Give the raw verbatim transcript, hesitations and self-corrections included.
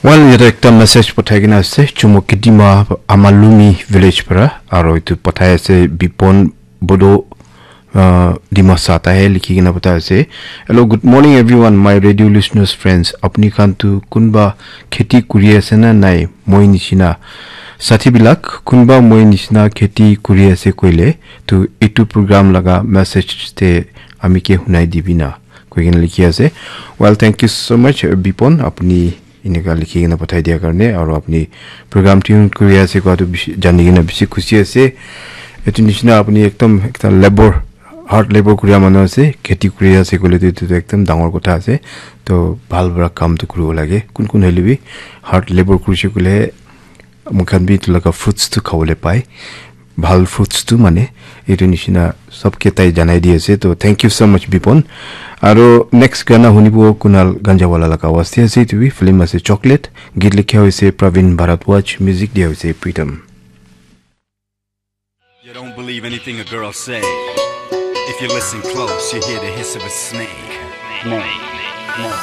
Well, yate ekta message pathai kena ase, Chumo Kidima Amalumi village para, aro etu pathai ase Bipon Bodo, uh, Dimasa, tahe likhi kena pathai ase. "Hello, good morning everyone, my radio listeners friends. Apni khan tu kunba kheti kuri ase na nai, moi nishina? Sathi bilak, kunba moi nishina kheti kuri ase koile, tu itu program laga message te ami ke hunai dibi na," koi kena likhi ase. Well, thank you so much, uh, Bipon, apni eneka likhi kena pathai dia karne, aro apni program tune kuri ase koa tu bishi, jani kena bishi khushi ase. Etu nishina apni ekdom ekta labor, hard labor kuria manu ase, kheti kuri ase koile tu etu tu ekdom dangor kotha ase. To bhal para kam tu kuribo lage. Kun kun hoile bi hard labor kurise koile moi khan bi etu laga fruits tu khabole pai. Bhal fruits tu mane etu nishina sobke tai janai di ase. To thank you so much, Bipon. Aro next gana hunibo Kunal Ganjawala laga awaz te ase, etu bi film ase Chocolate. Git likha hoise Praveen Bharadwaj, music dia hoise Pritam. You don't believe anything a girl say. If you listen close, you hear the hiss of a snake. More, more.